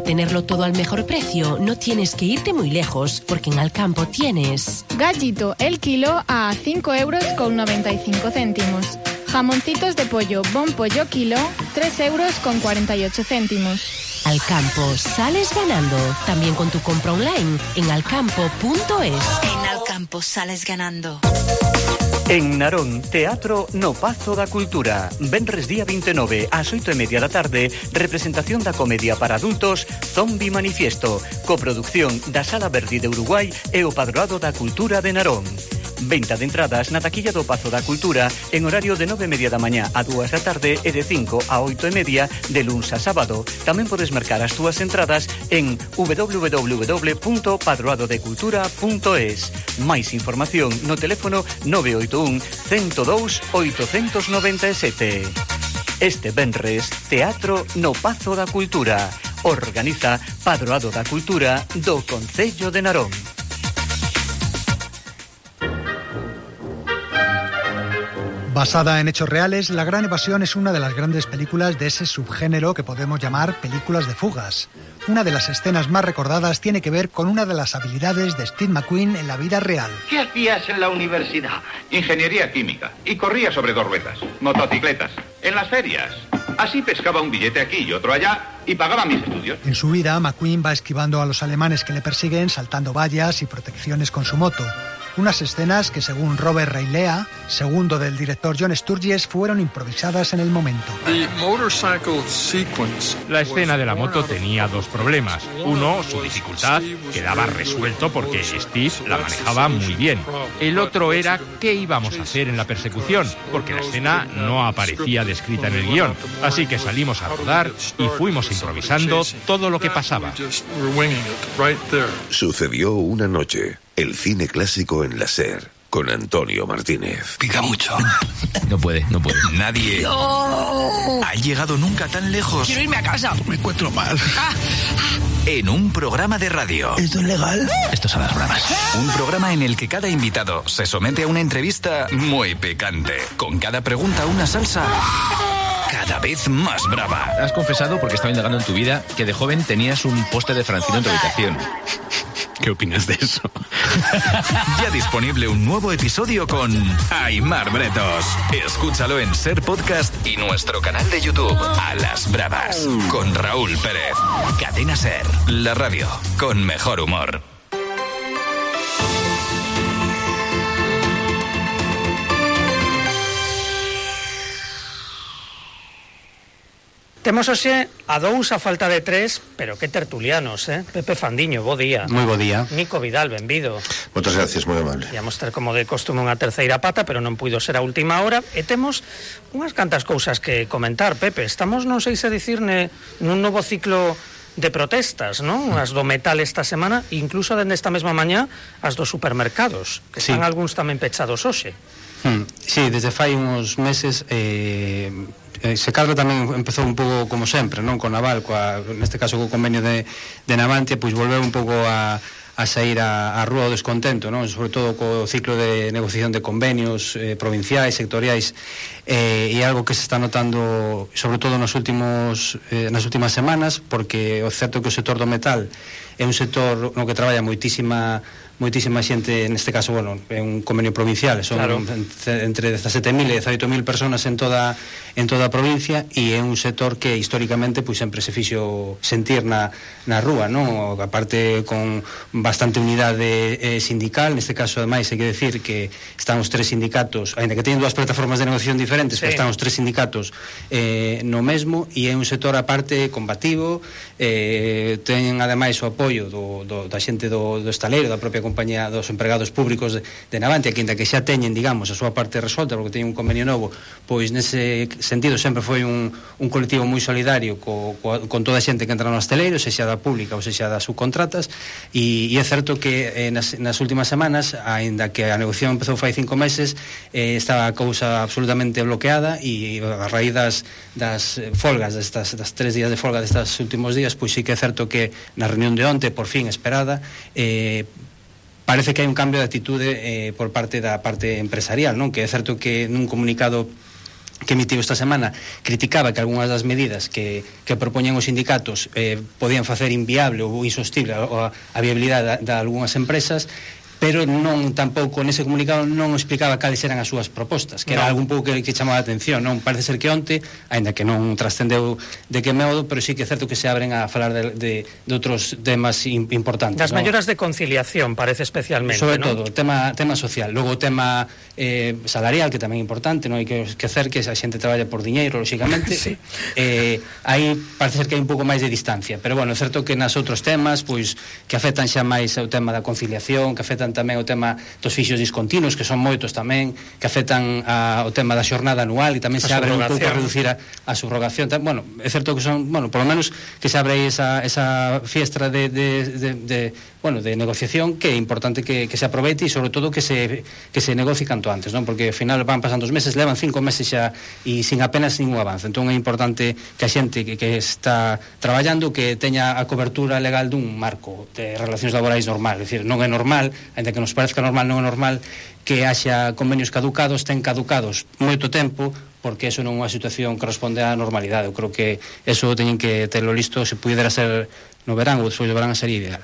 Para tenerlo todo al mejor precio, no tienes que irte muy lejos, porque en Alcampo tienes... Gallito el kilo a 5,95 €. Jamoncitos de pollo Bon Pollo kilo, 3,48 €. Alcampo, sales ganando. También con tu compra online en alcampo.es. En Alcampo sales ganando. En Narón, Teatro no Pazo da Cultura. Venres día 29, ás 8:30 da tarde, representación da comedia para adultos Zombie Manifiesto, coproducción da Sala Verdi de Uruguai e o Padroado da Cultura de Narón. Venta de entradas na taquilla do Pazo da Cultura en horario de 9:30 da mañá a 2 da tarde e de 5 a 8:30 de luns a sábado. Tamén podes mercar as túas entradas en www.padroadodecultura.es. Máis información no teléfono 981 102 897. Este venres, Teatro no Pazo da Cultura. Organiza Padroado da Cultura do Concello de Narón. Basada en hechos reales, La Gran Evasión es una de las grandes películas de ese subgénero que podemos llamar películas de fugas. Una de las escenas más recordadas tiene que ver con una de las habilidades de Steve McQueen en la vida real. ¿Qué hacías en la universidad? Ingeniería química. Y corría sobre 2 ruedas. Motocicletas. En las ferias. Así pescaba un billete aquí y otro allá y pagaba mis estudios. En su vida, McQueen va esquivando a los alemanes que le persiguen, saltando vallas y protecciones con su moto. Unas escenas que, según Robert Reilea, segundo del director John Sturges, fueron improvisadas en el momento. La escena de la moto tenía 2 problemas. Uno, su dificultad, quedaba resuelto porque Steve la manejaba muy bien. El otro era qué íbamos a hacer en la persecución, porque la escena no aparecía descrita en el guión. Así que salimos a rodar y fuimos improvisando todo lo que pasaba. Sucedió una noche. El cine clásico en la SER, con Antonio Martínez. Pica mucho. No puede. Nadie ha llegado nunca tan lejos. Quiero irme a casa. Me encuentro mal. En un programa de radio. ¿Esto es legal? Esto son las bravas. Un programa en el que cada invitado se somete a una entrevista muy picante. Con cada pregunta una salsa cada vez más brava. Has confesado, porque estaba indagando en tu vida, que de joven tenías un póster de Francino en tu habitación. ¿Qué opinas de eso? Ya disponible un nuevo episodio con Aimar Bretos. Escúchalo en Ser Podcast y nuestro canal de YouTube, A las Bravas, con Raúl Pérez. Cadena Ser, la radio con mejor humor. Temos hoxe a 2 a falta de 3, pero que tertulianos, Pepe Fandiño, bo día. Moi bo día. Nico Vidal, benvido. Moitas gracias, moi amable. Íamos ter como de costume unha terceira pata, pero non puido ser a última hora, e temos unhas cantas cousas que comentar, Pepe. Estamos, non sei se dicirne, nun novo ciclo de protestas, non? As do metal esta semana, incluso dende esta mesma mañá, as dos supermercados, que están algúns tamén pechados hoxe. Sí, desde fai uns meses se cadra tamén empezou un pouco como sempre, non? Con Naval, neste caso co convenio de Navantia, pois volveu un pouco a sair a rúa o descontento, non? Sobre todo co ciclo de negociación de convenios provinciais, sectoriais, e algo que se está notando sobre todo nas últimas semanas, porque o certo é que o sector do metal é un sector no que traballa moitísima xente, neste caso, bueno, é un convenio provincial, son entre 17.000 e 18.000 personas en toda a provincia, e é un sector que históricamente pois sempre se fixo sentir na rúa, non? Aparte con bastante unidade sindical, neste caso ademais hai que decir que están os 3 sindicatos, aínda que teñen 2 plataformas de negociación diferentes, pero están os 3 sindicatos no mesmo, e é un sector aparte combativo, teñen ademais o apoio da xente do estaleiro, da propia compañía, dos empregados públicos de Navantia, que ainda que xa teñen, digamos, a súa parte resolta porque teñen un convenio novo, pois nese sentido sempre foi un colectivo moi solidario con toda a xente que entra no estaleiro, sexa da pública ou sexa das subcontratas, e é certo que nas últimas semanas, aínda que a negociación empezou fai 5 meses, estaba a cousa absolutamente bloqueada, e a raíz das folgas, das 3 días de folga destes últimos días, pois sí que é certo que na reunión de onte, por fin esperada, parece que hai un cambio de atitude por parte da parte empresarial, non? Que é certo que nun comunicado que emitiu esta semana criticaba que algunhas das medidas que propoñen os sindicatos podían facer inviable ou insostible a viabilidade de algunhas empresas, pero non tampouco nese comunicado non explicaba cales eran as súas propostas, que era algo un pouco que chamaba a atención, non? Parece ser que onte, aínda que non trascendeu de que modo, pero sí que é certo que se abren a falar de outros temas importantes. Das melloras de conciliación, parece especialmente, sobre todo, tema social. Logo o tema salarial, que tamén é importante, non hai que esquecer que a xente traballa por diñeiro, lóxicamente. Sí. Aí parece ser que hai un pouco máis de distancia, pero bueno, é certo que nas outros temas, pois, que afectan xa máis o tema da conciliación, que afectan tamén o tema dos fixos discontinuos, que son moitos tamén, que afectan o tema da xornada anual, e tamén se abre un pouco a reducir a subrogación. Bueno, é certo que son, bueno, por lo menos que se abre esa fiestra de negociación, que é importante que se aproveite e sobre todo que se negocie canto antes, non? Porque ao final van pasando os meses, levan 5 meses xa e sin apenas ningún avance. Entón é importante que a xente que está traballando que teña a cobertura legal dun marco de relacións laborais normal, é dicir, non é normal, ainda que nos parezca normal, non é normal que haxa convenios caducados, ten caducados moito tempo, porque eso non é unha situación que responde á normalidade. Eu creo que eso teñen que terlo listo, se pudera ser no verán ou despois do verán, sería ideal.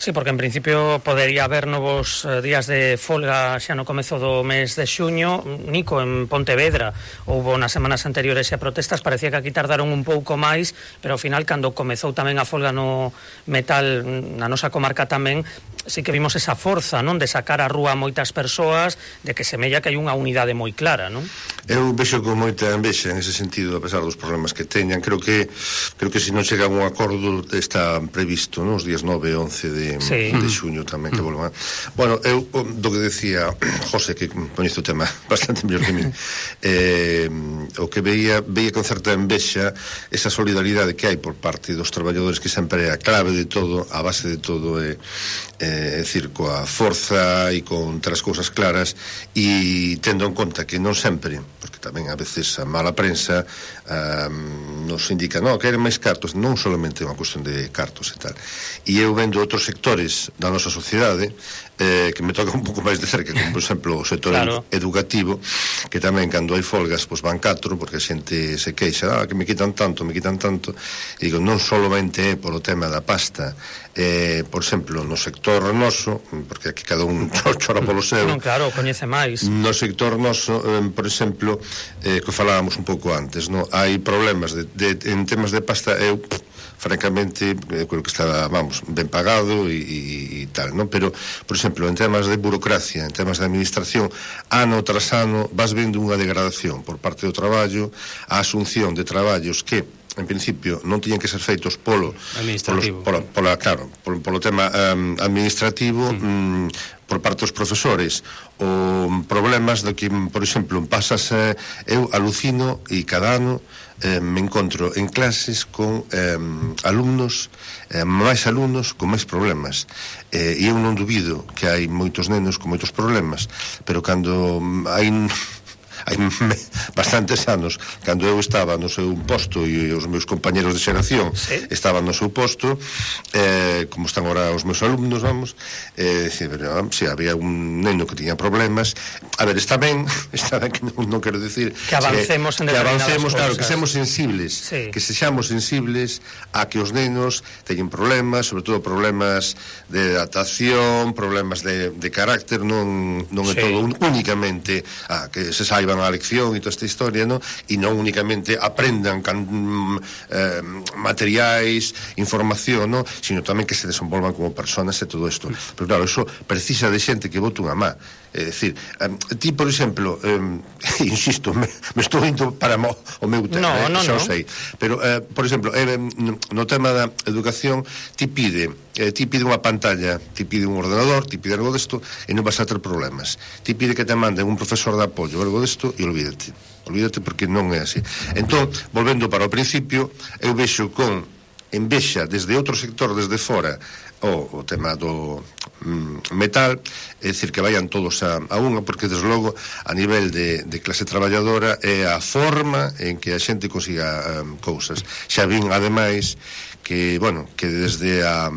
Sí, porque en principio podería haber novos días de folga xa no comezo do mes de xuño. Nico, en Pontevedra houbo nas semanas anteriores a protestas, parecía que aquí tardaron un pouco máis, pero ao final, cando comezou tamén a folga no metal na nosa comarca tamén, sí que vimos esa forza, non, de sacar á rúa moitas persoas, de que semella que hai unha unidade moi clara, non? Eu vexo con moita envexa en ese sentido, a pesar dos problemas que teñan. Creo que se non chega a un acordo, está previsto, non, os días 9 e 11 de xuño tamén que volvan. Bueno, eu do que decía José, que coñece o tema bastante mellor que mí, o que veía con certa envexa esa solidaridade que hai por parte dos traballadores, que sempre é a clave de todo, a base de todo, é dicir, coa forza e con as cousas claras, e tendo en conta que non sempre, porque tamén a veces a mala prensa nos indica, non, queren máis cartos, non solamente é unha cuestión de cartos e tal. E eu vendo outros sectores da nosa sociedade que me toca un pouco máis de cerca, como por exemplo o sector educativo, que tamén cando hai folgas pois van 4, porque a xente se queixa, que me quitan tanto, e digo, non solamente é por o tema da pasta, por exemplo, no sector noso, porque aquí cada un chora polo seu. Non, claro, coñece máis. No sector noso, por exemplo, que falábamos un pouco antes, no? Hai problemas en temas de pasta. Eu francamente, creo que está, vamos, ben pagado e tal, non? Pero, por exemplo, en temas de burocracia, en temas de administración, ano tras ano vas vendo unha degradación por parte do traballo, a asunción de traballos que en principio non tiñen que ser feitos polo tema administrativo, por parte dos profesores, ou problemas de que, por exemplo, pasas, eu alucino e cada ano me encontro en clases con alumnos, máis alumnos con máis problemas, e eu non dubido que hai moitos nenos con moitos problemas, pero cando hai bastantes anos, cando eu estaba no seu posto e os meus compañeros de xeración estaban no seu posto, como están agora os meus alumnos, vamos, se había un neno que tiña problemas, a ver, está ben que non quero decir que avancemos en determinadas cosas, claro, que sexamos sensibles, que sexamos sensibles a que os nenos teñen problemas, sobre todo problemas de adaptación, problemas de carácter, non é todo únicamente que se saiba a lección e toda esta historia, ¿no? E non únicamente aprendan materiais, información, ¿no? Sino tamén que se desenvolvan como personas e todo isto. Pero claro, eso precisa de xente que bote unha má. É dicir, ti, por exemplo, insisto, me estou indo para o meu tema, xa o sei, pero, por exemplo, no tema da educación, ti pide unha pantalla, ti pide un ordenador, ti pide algo desto e non vas a ter problemas. Ti pide que te manden un profesor de apoio, algo desto, e olvídate porque non é así. Entón, volvendo para o principio, eu vexo con envexa desde outro sector, desde fora, o tema metal, é dicir, que vayan todos a unha, porque desde logo a nivel de clase traballadora é a forma en que a xente consiga cousas. Xa vin ademais que, bueno, que desde a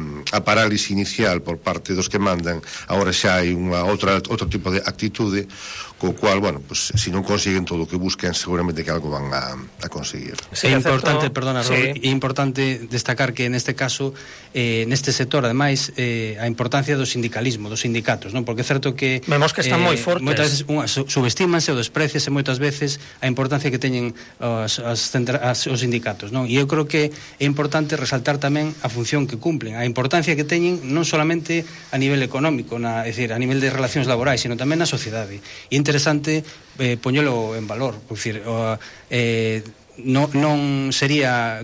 parálise inicial por parte dos que mandan, agora xa hai outro tipo de actitude, co cual, bueno, pues se non consiguen todo o que busquen, seguramente que algo van a conseguir. Sí, é importante, perdona, Raúl, é importante destacar que neste caso, neste sector, ademais, a importancia do sindicalismo, dos sindicatos, non? Porque é certo que vemos que están moi fortes. Moitas veces subestímanse ou despreciase moitas veces a importancia que teñen os sindicatos, non? E eu creo que é importante resaltar tamén a función que cumplen, a importancia que teñen non solamente a nivel económico, é dicir, a nivel de relacións laborais, sino tamén na sociedade. E interesante poñelo en valor, por dicir, non sería,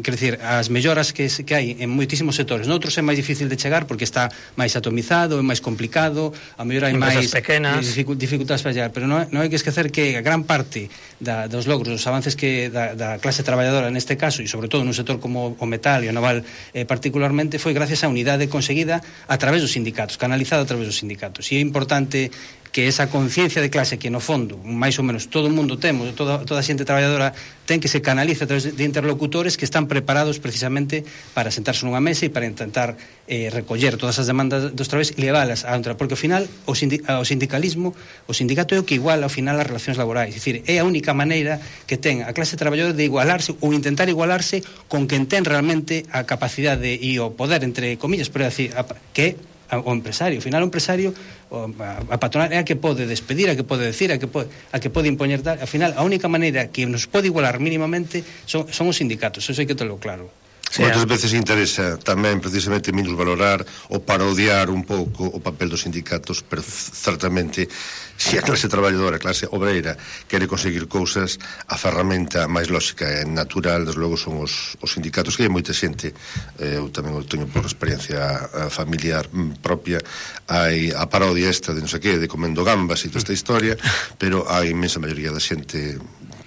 quero dicir, as melloras que hai en moitísimos sectores, noutros é máis difícil de chegar porque está máis atomizado, é máis complicado, a mellor hai máis dificultades para chegar, pero non hai que esquecer que a gran parte dos logros, dos avances que da clase traballadora neste caso, e sobre todo nun sector como o metal e o naval particularmente, foi gracias a unidade conseguida a través dos sindicatos, canalizada a través dos sindicatos, e é importante que esa conciencia de clase que no fondo máis ou menos todo o mundo temos, toda a xente traballadora ten que se canaliza a través de interlocutores que están preparados precisamente para sentarse nunha mesa e para intentar recoller todas as demandas dos traballadores e leválas a outra, porque ao final o sindicalismo, o sindicato é o que iguala ao final as relacións laborais, é dicir, é a única maneira que ten a clase traballadora de igualarse ou intentar igualarse con quen ten realmente a capacidade e o poder, entre comillas, pero é decir, que o empresario, ao final o empresario, a patronal é a que pode despedir, a que pode decir, a que pode impoñer tal. Ao final a única maneira que nos pode igualar mínimamente son os sindicatos, eso hai que telo claro. Moitas veces interesa tamén precisamente menos valorar ou parodiar un pouco o papel dos sindicatos, pero certamente se a clase traballadora, a clase obreira quere conseguir cousas, a ferramenta máis lógica e natural, desde logo, son os sindicatos, que hai moita xente, eu tamén o teño por experiencia familiar propia, hai a parodia esta de non sei que, de comendo gambas e toda esta historia, pero a inmensa maioría da xente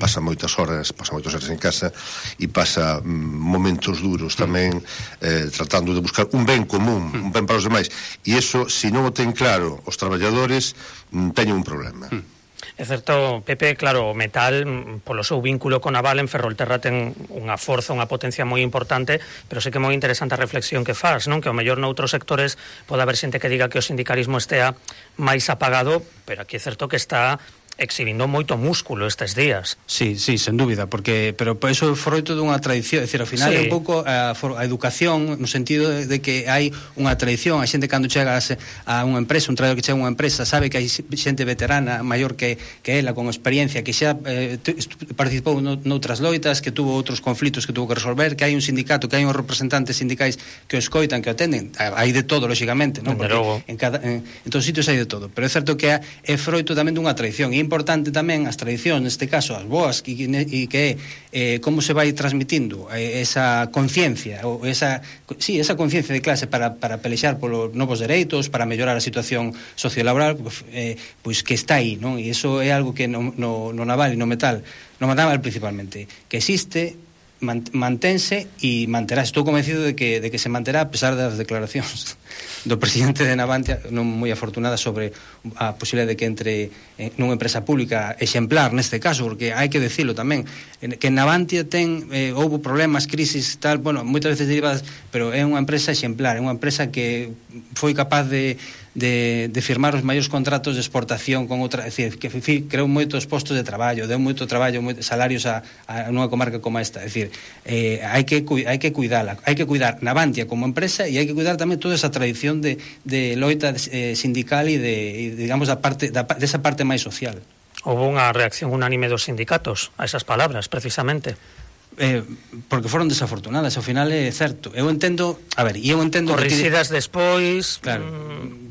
pasa moitas horas en casa e pasa momentos duros tamén tratando de buscar un ben común, un ben para os demais, e iso, se non o ten claro os traballadores, teñen un problema. É certo, Pepe, claro, o metal, polo seu vínculo con Naval en Ferrolterra ten unha forza, unha potencia moi importante, pero sei que é moi interesante a reflexión que faz, non? Que ao mellor noutros sectores pode haber xente que diga que o sindicalismo estea máis apagado, pero aquí é certo que está exhibindo moito músculo estes días. Sí, sen dúbida, pero eso é froito dunha tradición, é dicir, ao final é un pouco a educación, no sentido de que hai unha tradición, a xente cando chega a unha empresa, un traballador que chega a unha empresa, sabe que hai xente veterana, maior que ela, con experiencia, que xa participou noutras loitas, que tuvo outros conflitos que tuvo que resolver, que hai un sindicato, que hai uns representantes sindicais que o escoitan, que o atenden, hai de todo, lóxicamente, non? Porque en todos os sitios hai de todo, pero é certo que é froito tamén dunha tradición. É importante tamén as tradicións, neste caso as boas, e que é como se vai transmitindo esa conciencia, ou esa conciencia de clase para pelexar polos novos dereitos, para mellorar a situación sociolaboral, pois que está aí, non? E iso é algo que no naval e no metal principalmente, que existe, mantense e manterá. Estou convencido de que se manterá a pesar das declaracións do presidente de Navantia non moi afortunada sobre a posibilidade de que entre nunha empresa pública exemplar neste caso, porque hai que decirlo tamén, que en Navantia houve problemas, crisis, tal, bueno, moitas veces derivadas, pero é unha empresa exemplar, é unha empresa que foi capaz de firmar os maiores contratos de exportación con outra, é dicir, que creou moitos postos de traballo, deu moito traballo, moitos salarios a nunha comarca como esta, é dicir, hai que cuidala, hai que cuidar Navantia como empresa e hai que cuidar tamén toda esa tradición de loita sindical e digamos desa parte máis social. Houve unha reacción unánime dos sindicatos a esas palabras, precisamente. Porque foron desafortunadas, ao final é certo. Eu entendo corrixidas despois, claro,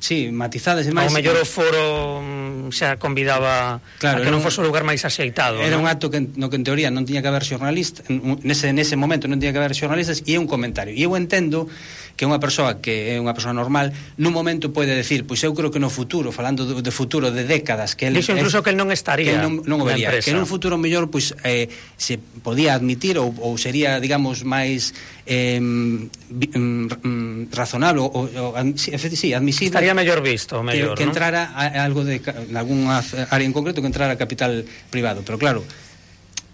sí, matizadas e máis. Ao mellor o foro xa convidaba a que non fose o lugar máis axeitado. Era un acto no que en teoría non tiña que haber xornalistas, nese momento non tiña que haber xornalistas, e é un comentario. E eu entendo que unha persoa que é unha persoa normal nun momento pode decir, pois eu creo que no futuro, falando de futuro de décadas, que dixo incluso que el non estaría non o vería, que nun futuro mellor pois se podía admitir ou sería, digamos, máis razonable ou admisible, estaría mellor visto, mellor, que entrara algo de algunha área en concreto, que entrara capital privado. Pero claro,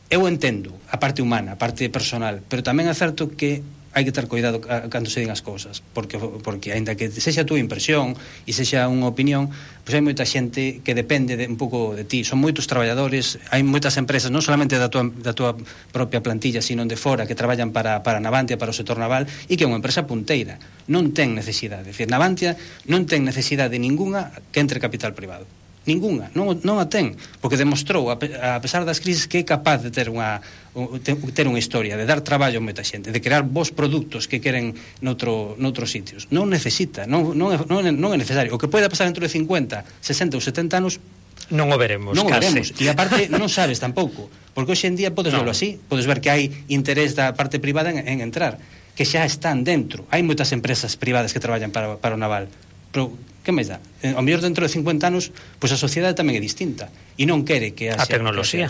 eu entendo a parte humana, a parte personal, pero tamén é certo que hai que ter cuidado cando se din as cousas, porque aínda que sexa a túa impresión e sexa unha opinión, pois hai moita xente que depende un pouco de ti. Son moitos traballadores, hai moitas empresas, non solamente da tua propia plantilla, sino de fora, que traballan para Navantia, para o sector naval, e que é unha empresa punteira. Non ten necesidade, é dicir, Navantia non ten necesidade ningunha que entre capital privado. Ninguna, non a ten, porque demostrou, a pesar das crisis, que é capaz de ter unha historia, de dar traballo a moita xente, de crear bons produtos que queren noutros sitios. Non necesita, non é necesario. O que pode pasar dentro de 50, 60 ou 70 anos non o veremos. E aparte non sabes tampouco, porque hoxe en día podes verlo así, podes ver que hai interés da parte privada en entrar, que xa están dentro. Hai moitas empresas privadas que traballan para o naval, pero que máis dá? Ao mellor dentro de 50 anos, pois a sociedade tamén é distinta e non quere que a tecnoloxía,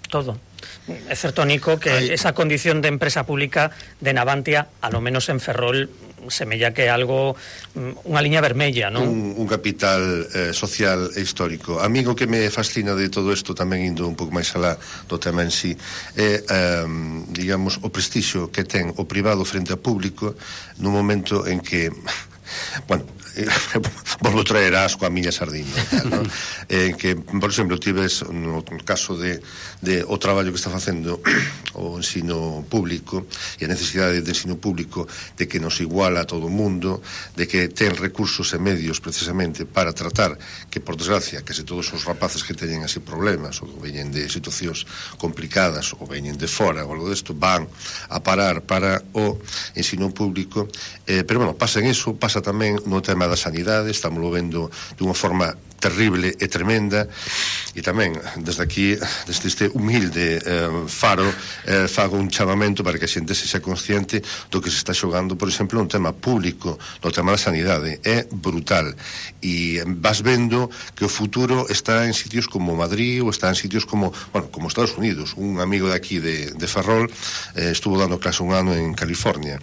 todo. É certo, Nico, que esa condición de empresa pública de Navantia, a lo menos en Ferrol, semella que é algo, unha liña vermella, non? Un capital social e histórico. A mí o que me fascina de todo isto, tamén indo un pouco máis alá do tema en sí, é, digamos, o prestixio que ten o privado frente ao público nun momento en que, bueno, volvo traer asco a miña sardinha, ¿no? Que, por exemplo, tives no caso de o traballo que está facendo o ensino público e a necesidade de ensino público, de que nos iguala a todo o mundo, de que ten recursos e medios precisamente para tratar que, por desgracia, que se todos os rapaces que teñen así problemas ou veñen de situacións complicadas ou veñen de fora ou algo desto, van a parar para o ensino público, pero bueno, pasa en iso, pasa tamén no tema da sanidade, estamos vendo dunha forma terrible e tremenda, e tamén desde aquí, desde este humilde faro, fago un chamamento para que a xente sexa consciente do que se está xogando, por exemplo, un tema público, no tema da sanidade. É brutal, e vas vendo que o futuro está en sitios como Madrid, ou está en sitios como, bueno, como Estados Unidos. Un amigo de aquí de Ferrol estuvo dando clase un ano en California,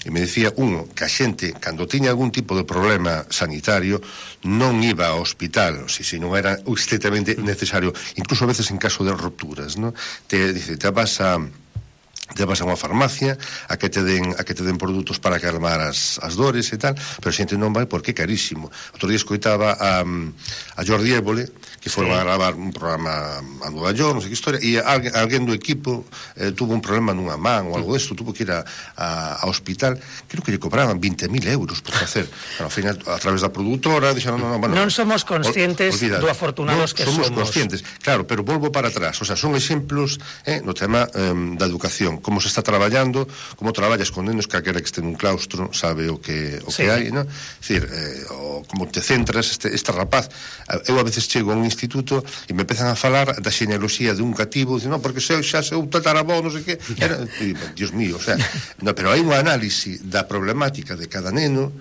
e me decía, que a xente, cando tiña algún tipo de problema sanitario, non iba ao hospital, se non era estrictamente necesario, incluso a veces en caso de rupturas, ¿no? Te vas a unha farmacia a que te den produtos para calmar as dores e tal, pero a xente non vai porque é carísimo. Outro día escoitaba a Jordi Évole, que foron a gravar un programa a Nueva York, non sei que historia, e alguén do equipo tuvo un problema nunha man ou algo desto, tuvo que ir ao hospital, creo que lle cobraban 20.000 euros por facer. Ao final, a través da produtora, dixeron, non somos conscientes do afortunados que somos. Conscientes, claro, pero volvo para atrás, o sea, son exemplos no tema da educación, como se está traballando, como traballas con nenos, calquera que este nun claustro sabe o que hai, non? É dicir, como te centras, este rapaz, eu a veces chego a un instituto e me empezan a falar da xenealoxía de un cativo, dicen, non, porque xa seu tatarabó, non sei que, Dios mío, o sea, no, pero hai unha análise da problemática de cada neno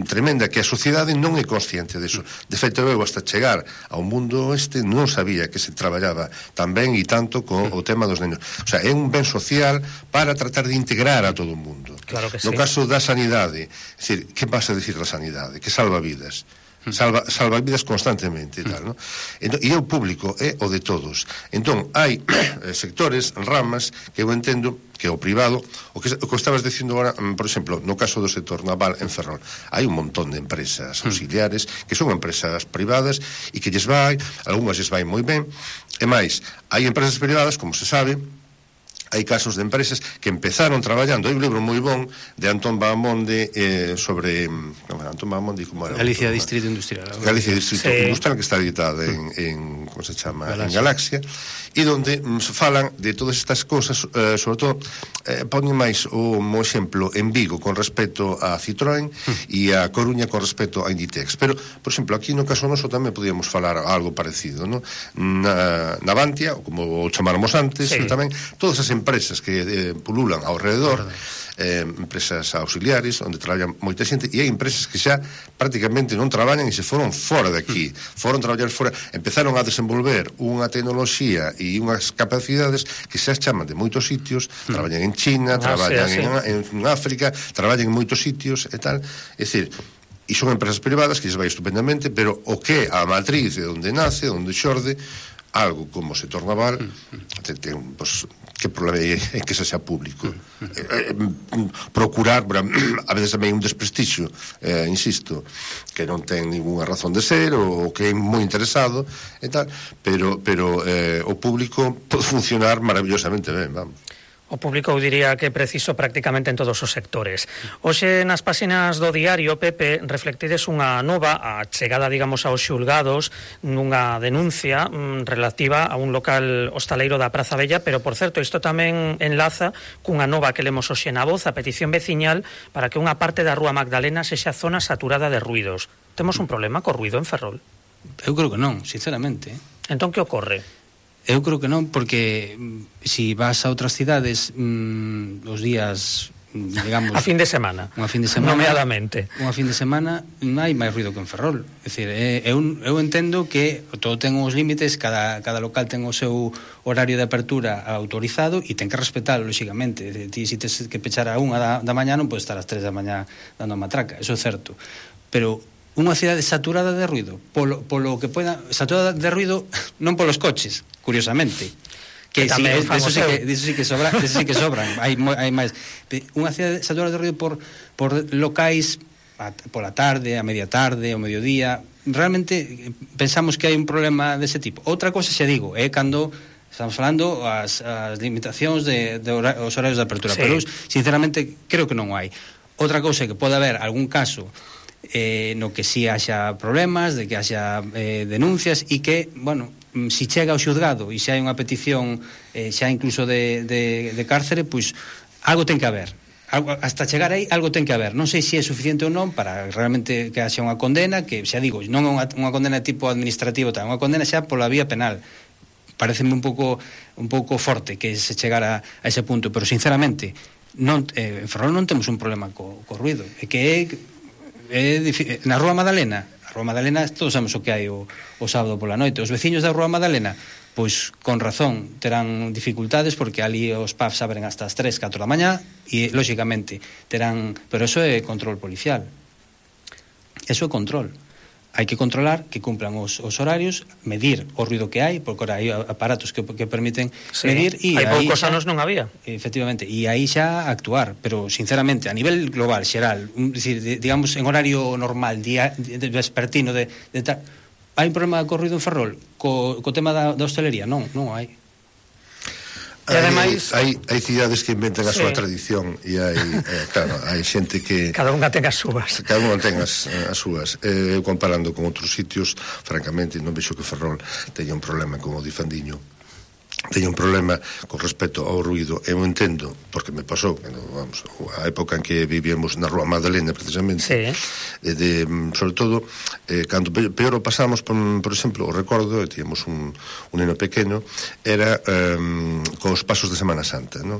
tremenda, que a sociedade non é consciente deso. De feito, eu hasta chegar ao mundo non sabía que se traballaba tan ben e tanto con o tema dos nenos. O sea, é un ben social para tratar de integrar a todo o mundo. Claro que sí. No caso da sanidade, é dicir, que vas a decir da sanidade? Que salva vidas. Salva vidas constantemente e tal, ¿no? E o público é o de todos. Entón, hai sectores, ramas, que eu entendo que o privado, o que estabas dicindo agora, por exemplo, no caso do sector naval en Ferrol, hai un montón de empresas auxiliares que son empresas privadas e que lles vai, algunhas lles vai moi ben, e máis, hai empresas privadas, como se sabe, hai casos de empresas que empezaron traballando. Hai un libro moi bon de Antón Bahamonde sobre Antón Bahamonde, como era? Galicia Distrito Industrial. Galicia Distrito Industrial, que está editada en como se chama? En Galaxia, e donde falan de todas estas cosas, sobre todo poñen máis o exemplo en Vigo con respecto a Citroën e a Coruña con respecto a Inditex. Pero, por exemplo, aquí no caso noso tamén podíamos falar algo parecido, ¿no? Na Bantia, como o chamáramos antes, tamén todas as empresas que pululan ao redor, empresas auxiliares onde traballan moita xente, e hai empresas que xa prácticamente non traballan e se foron fora de aquí, foron traballar fora, empezaron a desenvolver unha tecnoloxía e unhas capacidades que xa chaman de moitos sitios, traballan en China, traballan en África, traballan en moitos sitios e tal, é dicir, e son empresas privadas que se vai estupendamente, pero o que a matriz de onde nace, onde xorde algo como o sector naval, pues, que problema é que xa público? Procurar, a veces tamén un desprestixio, insisto, que non ten ninguna razón de ser, ou que é moi interesado, e tal, pero o público pode funcionar maravillosamente ben, vamos. O público, eu diría que é preciso prácticamente en todos os sectores. Hoxe nas páxinas do diario, Pepe, reflectides unha nova a chegada, digamos, aos xulgados nunha denuncia relativa a un local hostaleiro da Praza Bella, pero, por certo, isto tamén enlaza cunha nova que lemos hoxe na Voz, a petición veciñal para que unha parte da Rúa Magdalena sexa zona saturada de ruidos. Temos un problema co ruido en Ferrol? Eu creo que non, sinceramente. Entón, que ocorre? Eu creo que non, porque si vas a outras cidades os días, digamos... A fin de semana, nomeadamente. Unha fin de semana non hai máis ruido que en Ferrol. É dicir, eu entendo que todo ten os límites, cada local ten o seu horario de apertura autorizado e ten que respetalo, lógicamente. Ti, se tes que pechar a 1 da mañá, non podes estar ás 3 da mañá dando a matraca, eso é certo. Pero unha cidade saturada de ruido, polo que poida, saturada de ruido non polos coches, curiosamente, que sí, eso sí que sobran, hai máis. Unha cidade saturada de ruido por locais pola tarde, a media tarde, ao mediodía. Realmente pensamos que hai un problema dese tipo. Outra cosa, xa digo, é cando estamos falando as limitacións os horarios de apertura, pero sinceramente creo que non o hai. Outra cousa é que pode haber algún caso no que si haxa problemas, de que haxa denuncias e que, bueno, si chega ao xuzgado e xa hai unha petición xa incluso de cárcere, pois algo ten que haber. Hasta chegar aí algo ten que haber. Non sei se é suficiente ou non para realmente que haxa unha condena, que xa digo, non é unha condena tipo administrativo, unha condena xa pola vía penal. Pareceme un pouco forte que se chegara a ese punto, pero sinceramente en Ferrol non temos un problema co ruido, é que na Rúa Madalena, todos sabemos o que hai o sábado pola noite. Os veciños da Rúa Madalena, pois con razón terán dificultades porque ali os pubs abren hasta as 3, 4 da mañá e lógicamente terán, pero eso é control policial. Eso é control. Hai que controlar que cumplan os horarios, medir o ruido que hai, porque ahora hai aparatos que permiten medir e hai poucos anos non había. Efectivamente, e aí xa actuar, pero sinceramente a nivel global, xeral, digamos en horario normal, vespertino de tal, hai un problema co ruido en Ferrol, co tema da hostelería? Non hai. E ademais hai cidades que inventan a súa tradición e hai xente que cada unha ten as súas. Cada unha ten as súas. Comparando con outros sitios, francamente non vexo que Ferrol teña un problema con o Difandiño, teña un problema con respecto ao ruido. Eu entendo, porque me pasou, vamos, a época en que vivíamos na Rúa Magdalena, precisamente, sobre todo, cando peor o pasamos, por exemplo, o recordo, tíamos un neno pequeno, era cos pasos de Semana Santa, non?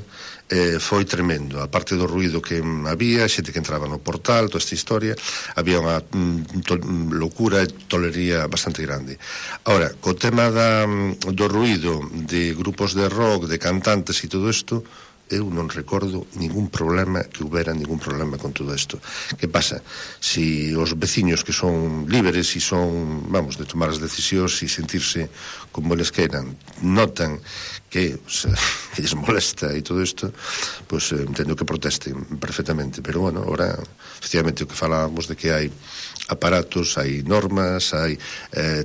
Foi tremendo, a parte do ruido que había, xente que entraba no portal, toda esta historia, había unha locura e tolería bastante grande. Ahora, co tema do ruido de grupos de rock, de cantantes e todo isto, eu non recordo ningún problema con todo isto. Que pasa? Si os veciños que son libres e son, vamos, de tomar as decisións e sentirse como eles queiran, notan que lles molesta e todo isto, pois entendo que protesten perfectamente, pero bueno, ahora efectivamente o que falábamos de que hai aparatos, hai normas, hai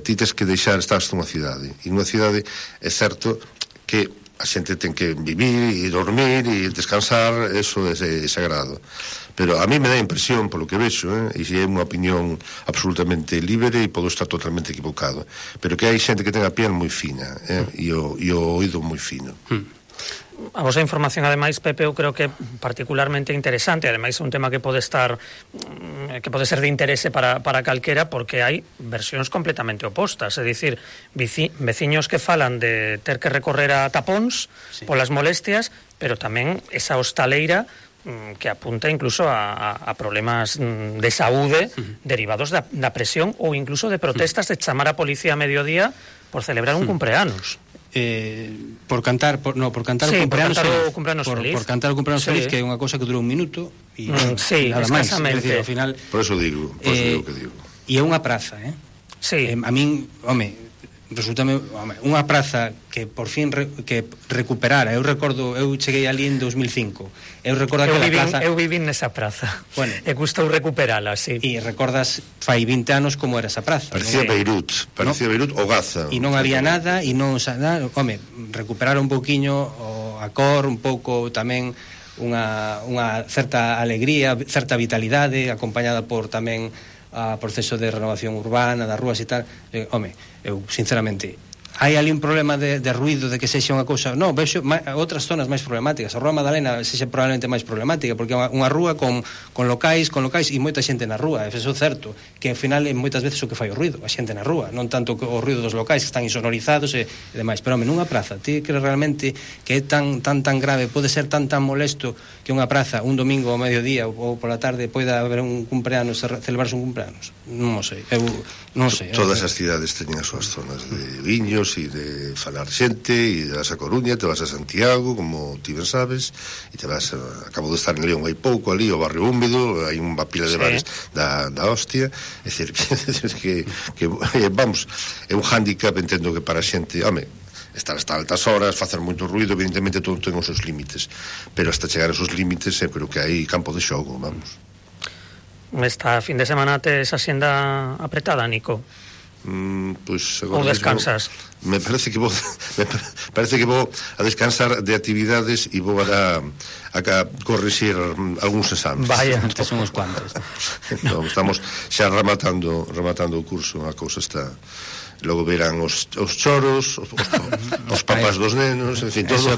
tites que deixar, estás nunha cidade, e nunha cidade é certo que a xente ten que vivir e dormir e descansar, eso é sagrado. Pero a mí me dá impresión, polo que vexo, e se é unha opinión absolutamente libre e podo estar totalmente equivocado, pero que hai xente que ten a piel moi fina e o oído moi fino. A vosa información, ademais, Pepe, eu creo que é particularmente interesante, ademais é un tema que pode ser de interese para calquera, porque hai versións completamente opostas, é dicir, veciños que falan de ter que recorrer a tapóns polas molestias, pero tamén esa hostaleira que apunta incluso a problemas de saúde derivados da presión ou incluso de protestas de chamar a policía a mediodía por celebrar un cumpleanos. Por cantar o cumpleanos feliz. Por cantar o cumpleanos feliz, que é unha cosa que dura un minuto e nada máis. Ao final, por eso digo que digo. E é unha praza, a min, resultame unha praza que por fin que recuperara. Eu recordo, eu cheguei ali en 2005. Eu recordo aquela praza. Eu vivín nesa praza. Bueno, e gustou recuperala, sí. E recordas fai 20 anos como era esa praza. Parecía Beirut ou Gaza. E non había nada e non recuperar un pouquiño a cor, un pouco tamén unha certa alegría, certa vitalidade, acompañada por tamén a proceso de renovación urbana das rúas e tal. Eu sinceramente hai ali un problema de ruido, de que sexa unha cousa, vexo outras zonas máis problemáticas. A Rúa Madalena sexa probablemente máis problemática, porque é unha rúa con locais e moita xente na rúa. Eso é certo, que ao final é moitas veces o que fai o ruido, a xente na rúa, non tanto o ruido dos locais que están insonorizados e demais. Pero nunha praza, ti crees realmente que é tan grave, pode ser tan molesto que unha praza un domingo ao mediodía ou pola tarde poida haber un cumpleanos, celebrarse un cumpleanos? Non sei, eu non sei. Todas as cidades teñen as súas zonas de viños e de falar xente, e te vas a Coruña, te vas a Santiago, como ti ben sabes, e te vas acabo de estar en León hai pouco, ali o barrio húmedo, hai unha pila de bares da hostia, é dicir que vamos, é un hándicap, entendo que para a xente, estar hasta altas horas, facer moito ruido, evidentemente todo ten os seus límites, pero hasta chegar aos seus límites eu creo que hai campo de xogo, vamos. Esta fin de semana tes a xenda apretada, Nico? Pois ou descansas? Me parece que vou a descansar de actividades e vou a corrixir algúns exames. Vaya, que son os cuantos. Estamos xa rematando o curso, a cousa está. Logo verán os choros, os papás dos nenos, en fin, todo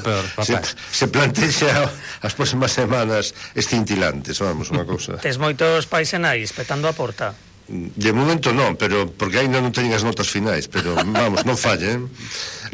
se plantexa as próximas semanas escintilantes, vamos, unha cousa. Tes moitos pais e nais petando a porta? De momento non, pero porque ainda non teñen as notas finais, pero vamos, non fallen.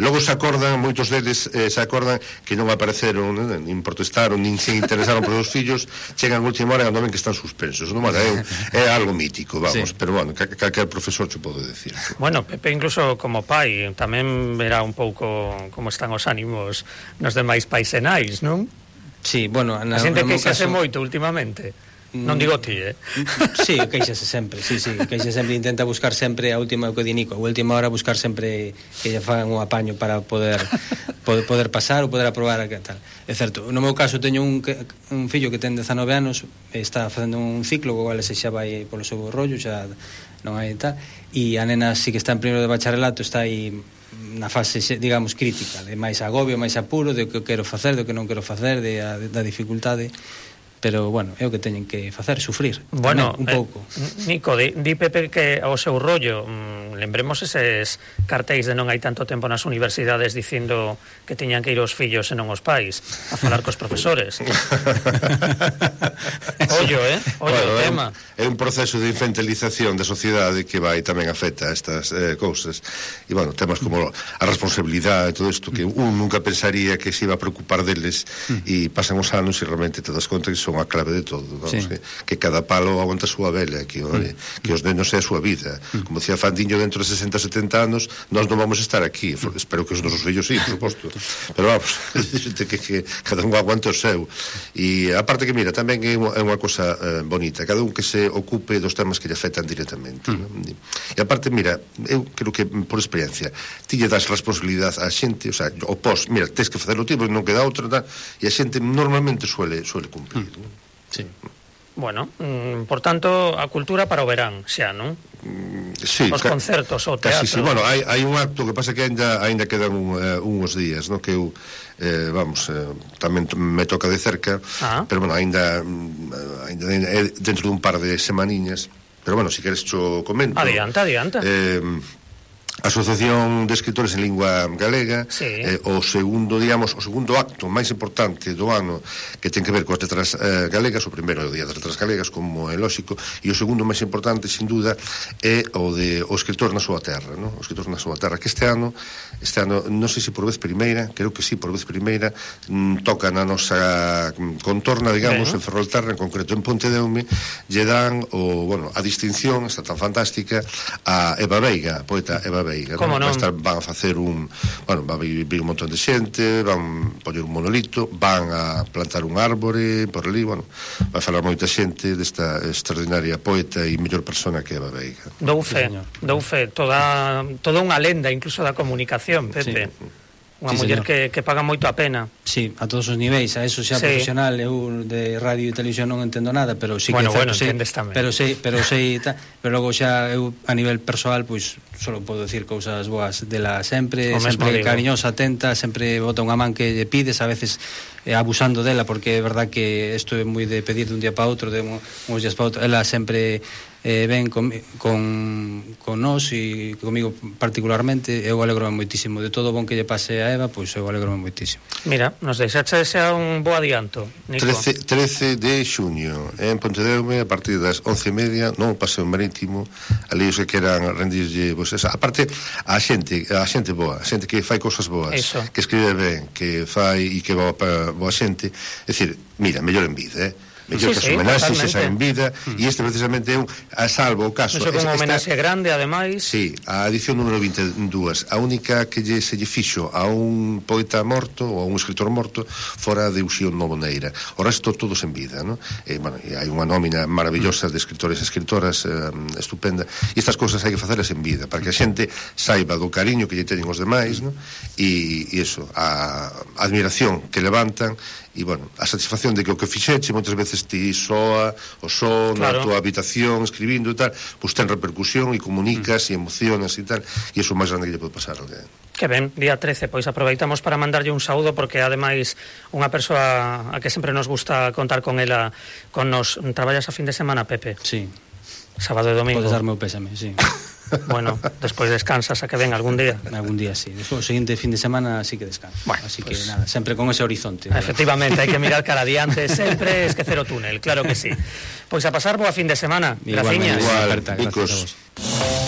Logo se acordan, moitos deles se acordan que non apareceron, nin protestaron, nin se interesaron por os fillos, chegan a última hora e non ven que están suspensos. Non, é algo mítico, vamos, pero bueno, calquer profesor che pode decir. Bueno, Pepe incluso como pai tamén verá un pouco como están os ánimos nos demais pais e nais, non? Sí, bueno, a xente queixase moito últimamente. Non digo ti, Sí, queixase sempre, queixase sempre, intenta buscar sempre a última, o que di Nico, a última hora buscar sempre que lle fagan un apaño para poder pasar ou poder aprobar tal. É certo, no meu caso teño un fillo que ten 19 anos, está facendo un ciclo, o cual se xa vai polo seu rollo, xa non hai tal, e a nena sí que está en primeiro de bacharelato, está aí na fase, digamos, crítica, de máis agobio, máis apuro, de o que quero facer, do que non quero facer, da dificultade. Pero, bueno, é o que teñen que facer, sufrir. Bueno, un pouco. Nico, di Pepe que ao seu rollo, lembremos eses cartéis de non hai tanto tempo nas universidades dicindo que teñan que ir os fillos e non os pais a falar cos profesores. Ollo o tema. É un proceso de infantilización da sociedade que vai tamén afecta a estas cousas. E, bueno, temas como a responsabilidade e todo isto, que un nunca pensaría que se iba a preocupar deles, e pasan os anos e realmente te das conta que son a clave de todo, vamos, que cada palo aguanta a súa vela, que os nenos é a súa vida. Como decía Fandiño, dentro de 60-70 anos nós non vamos estar aquí, espero que os nosos fillos sí, por suposto, pero vamos, que cada un aguanta o seu. E aparte que, mira, tamén é unha cosa bonita, cada un que se ocupe dos temas que lle afectan directamente. E aparte, mira, eu creo que por experiencia ti lle das responsabilidade á xente, o sea, o pos, mira, tens que facelo ti, porque non queda outra, e a xente normalmente suele cumprir. Sí. Bueno, por tanto, a cultura para o verán, xa, non? os concertos, o teatro. Sí, bueno, hai un acto que pasa que ainda quedan uns días, no, que eu tamén me toca de cerca, pero bueno, ainda dentro dun par de semaniñas, pero bueno, si queres cho comento. Adianta. Asociación de Escritores en Lingua Galega, o segundo acto máis importante do ano que ten que ver coas letras galegas. O primeiro é o Día das Letras Galegas, como é lógico, e o segundo máis importante, sin duda, é o de o escritor na súa terra, no? O escritor na súa terra, que este ano, non sei se por vez primeira, creo que sí, por vez primeira, toca na nosa contorna, digamos, en Ferrolterra, en concreto en Pontedeume, lle dan a distinción, está tan fantástica, a Eva Veiga, poeta Eva Veiga. Como non? Van a facer va a vir un montón de xente, van poñer un monolito, van a plantar un árbore por ali, vai falar moita xente desta extraordinaria poeta e mellor persona que Eva Veiga. Dou fe, toda unha lenda incluso da comunicación, Pepe. Unha muller que paga moito a pena. Sí, a todos os niveis, a eso xa profesional. Eu de radio e televisión non entendo nada, pero sí que entendes tamén. Pero logo xa eu a nivel persoal, pois solo podo decir cousas boas dela sempre cariñosa, atenta, sempre bota unha man que lle pides, a veces abusando dela, porque é verdad que isto é moi de pedir de un día para outro, de uns días para outro. Ela sempre ven con nós e comigo particularmente. Eu alegrome moitísimo de todo o bon que lle pase a Eva, pois eu alegrome moitísimo. Mira, nos deixaxe xa un bo adianto, Nico. 13 de xuño en Pontedeume, a partir das 11:30, no Paseo Marítimo. Ali os que queran rendirlle, pois esa, aparte a xente boa, a xente que fai cousas boas, que escribe ben, que fai e que boa xente, é dicir, mira, mellor en vida, mellor que as homenaxes esa en vida, e este precisamente é a salvo o caso. Iso como homenaxe grande, ademais. Sí, a edición número 22, a única que se lle fixo a un poeta morto ou a un escritor morto fora de Uxío Novoneira. O resto todos en vida, ¿no? E hai unha nómina maravillosa de escritores e escritoras estupenda, e estas cousas hai que facelas en vida, para que a xente saiba do cariño que lle teñen os demais, ¿no? E iso, a admiración que levantan, e, a satisfacción de que o que fixeche moitas veces ti soa o son na tua habitación escribindo e tal, pois ten repercusión e comunicas e emocionas e tal, e iso é o máis grande que lle pode pasar a alguén. Que ben, día 13, pois aproveitamos para mandarlle un saúdo, porque ademais unha persoa a que sempre nos gusta contar con ela, con nos. Traballas a fin de semana, Pepe? Sí. Sábado e domingo. Podes darme o pésame, sí. Bueno, despois descansas a que ven algún día. Algún día, sí. O seguinte fin de semana sí que descanso. Así que nada, sempre con ese horizonte. Efectivamente, hai que mirar cara adiante, sempre esquecer o túnel, claro que sí. Pois a pasar boa fin de semana. Graciñas. Igual, gracias a vos.